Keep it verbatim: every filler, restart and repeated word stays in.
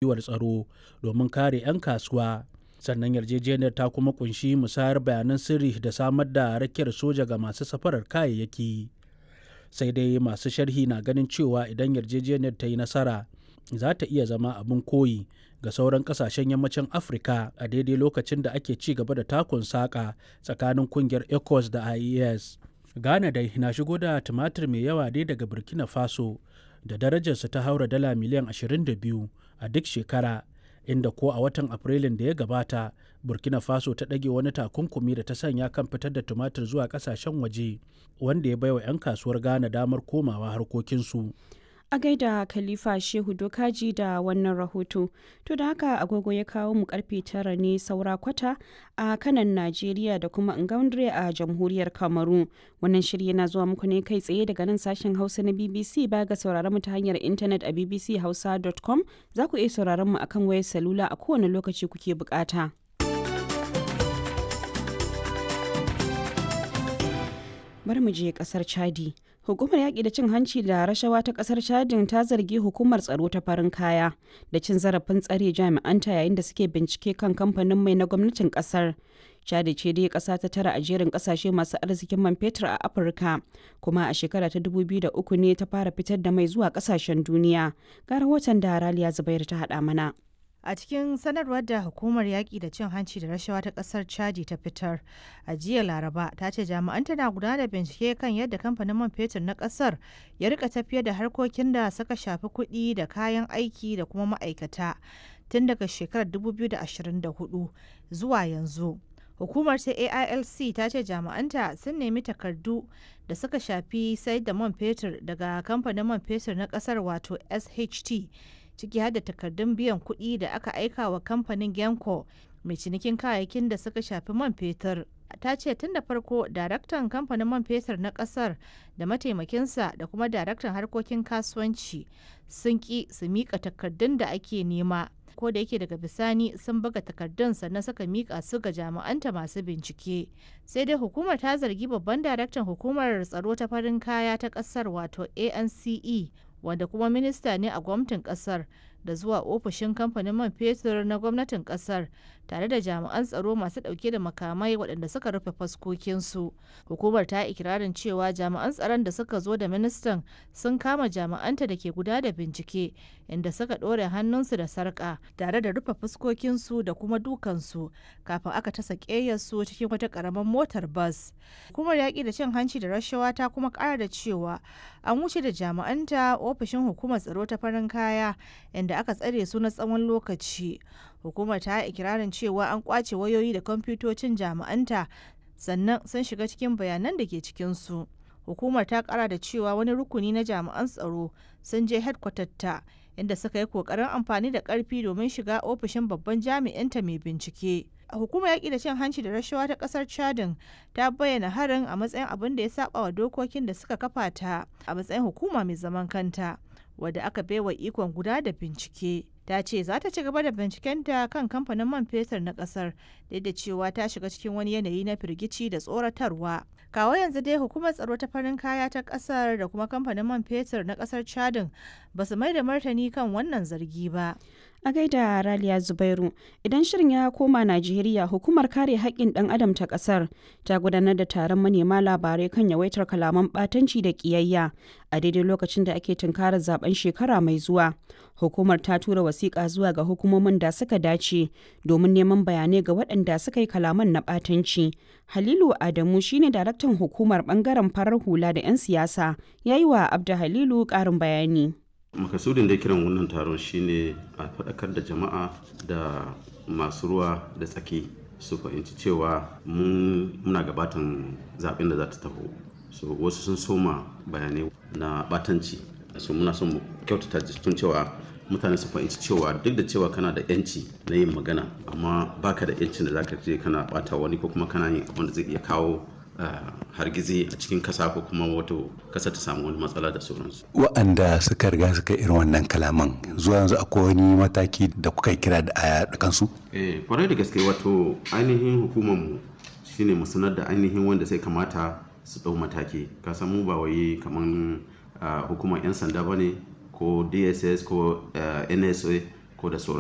Gwiwar tsaro domin kare 'yan kasuwa, sannan yarjejeniyar ta kuma ƙunshi musayar bayanan sirri da samar da rakiyar soja ga masu safarar kayayyaki. Sai dai masu sharhi na ganin cewa idan yarjejeniyar ta yi nasara, za ta iya zama abin koyi ga sauran ƙasashen Yammacin Afirka a daidai lokacin da ake ci gaba da takun saƙa tsakanin ƙungiyar ECOWAS da I E S. Ghana dai na shigo da tumatir mai yawa ne daga Burkina Faso da darajarsa ta haura dala miliyan ashirin da biyu a duk shekara, inda ko a watan Afrilun da ya gabata, Burkina Faso ta ɗage wani takunkumi da ta sanya kan fitar da tumatir zuwa ƙasashen waje, wanda ya baiwa 'yan kasuwar Ghana damar komawa harkokinsu. A gaida Khalifa Shehu Dokaji da wannan rahoto. To da haka agogo ya kawo mu karfe tara ne saura kwata a kanan Najeriya da kuma Ngaundre a jamhuriyar Kamaru. Wannan shiri yana zuwa muku ne kai tsaye daga nan sashen Hausa na B B C. Baya ga sauraron mu ta hanyar intanet a B B C hausa dot com, za ku iya sauraron mu akan wayar salula a kowane lokaci kuke bukata. Bari mu je kasar Chadi. Hukumar yaƙi da cin hanci da rashawa ta ƙasar Chadin ta zargi hukumar tsaro ta farin kaya da cin zarafin tsare jami'anta yayin da suke bincike kan kamfanin mai na gwamnatin ƙasar. Chadi ce dai ƙasa ta tara a jerin ƙasashe masu arzikin man fetur a Afirka, kuma a shekara ta dubu biyu da uku ne ta fara fitar da mai zuwa ƙasashen duniya. Ga rahoton da Raliya Zubairu ta haɗa mana. A cikin sanarwar da hukumar yaƙi da cin hanci da rashawa ta ƙasar Chadi ta fitar a jiya Laraba, ta ce jami'an tana gudanar da bincike kan yadda kamfanin man fetur na ƙasar ya rika tafiyar da harkokin da suka shafi kuɗi da kayan aiki da kuma ma'aikata tun daga shekarar dubu biyu da ashirin da huɗu zuwa yanzu. Hukumar ta A I L C ta ce jami'anta sun nemi takardu da suka shafi sayar da man fetur daga kamfanin man fetur na ƙasar wato S H T, ciki har da takardun biyan kuɗi da aka aika wa kamfanin Genco mai cinikin kayayyakin da suka shafi man fetur. Ta ce tun da farko daraktan kamfanin man fetur na kasar da mataimakinsa da kuma daraktan harkokin kasuwanci sun ki su mika takardun da ake nema, ko da yake daga bisani sun buga takardun sannan suka mika su ga jami'anta masu bincike. Sai dai hukumar ta zargi babban daraktan hukumar tsaro ta farin kaya ta kasar wato A N C E, wanda kuma minista ne a gwamnatin kasar, da zuwa ofishin kamfanin man fetur na gwamnatin kasar tare da jami'an tsaro masu dauke da makamai waɗanda suka rufe faskokinsu. Hukumar ta ikirarin cewa jami'an tsaron da suka zo da ministan sun kama jami'anta da ke guda da bincike, inda suka ɗore hannunsu da sarƙa tare da rufe fuskokinsu da kuma dukansu kafin aka tasa ƙeyarsu cikin wata ƙaramar motar bas. Hukumar yaƙi da cin hanci da rashawa ta kuma ƙara da cewa an wuce da jami'anta ofishin hukumar tsaro ta farin kaya, inda aka tsare su na tsawon lokaci. Hukumar ta yi ikirarin cewa an kwace wayoyi da kwamfutocin jami'anta sannan sun shiga cikin bayanan da ke cikinsu. Hukumar ta kara da cewa wani rukuni na jami'an tsaro sun je ta inda suka yi kokarin amfani da karfi domin shiga ofishin babban jami'inta mai bincike. Hukumar yaƙi da cin hanci da rashawa ta ƙasar Chadin ta bayyana harin a matsayin abin da ya saba wa dokokin da suka kafa ta a matsayin hukuma mai zaman kanta wadda aka baiwa ikon guda da bincike. Ta ce za ta ci gaba da bincikenta kan kamfanin man fetur na kasar duk da cewa ta shiga cikin wani yanayi na firgici da tsoratarwa. Kawo yanzu dai hukumar tsaro ta farin kaya ta kasar da kuma kamfanin man fetur na kasar Chadin ba su mai da martani kan wannan zargi ba. A gaida Raliya Zubairu. Idan shirin ya koma Najeriya, hukumar kare haƙƙin ɗan adam ta ƙasar ta gudanar da taron manema labarai kan yawaitar kalaman ɓatanci da ƙiyayya a daidai lokacin da ake tunkarar zaben shekara mai zuwa. Hukumar ta tura wasiƙa zuwa ga hukumomin da suka dace domin neman bayanai ga waɗanda suka yi kalaman na ɓatanci. Halilu Adamu shine daraktan hukumar ɓangaren farar hula da 'yan siyasa, ya yi wa Abda Halilu ƙarin bayani. Makasudin da kiran wannan taron shine a faɗakar da jama'a da masu ruwa da tsaki su fahimci cewa muna gabatan zaben da za ta taho. So wasu sun soma bayanai na batanci, so muna son mu kyautata tun cewa mutane su fahimci cewa duk da cewa kana da yanci na yin magana, amma baka da yancin da zaka je kana bata wani ko kuma kana yin abin da zai iya kawo hargitsi a cikin kasa ko kuma wato kasa ta samu wani matsala da sauransu. Wa'anda suka riga suka irin wannan kalaman, zuwa yanzu akwai wani mataki da kuka kira da a kansu? Eh, kwarai da gaske. Wato ainihin hukumar mu shine mu sanar da ainihin wanda sai kamata su ɗau mataki. Ka san mu ba wai kaman hukumar 'yan sanda bane ko D S S ko N S A. ko da sauran.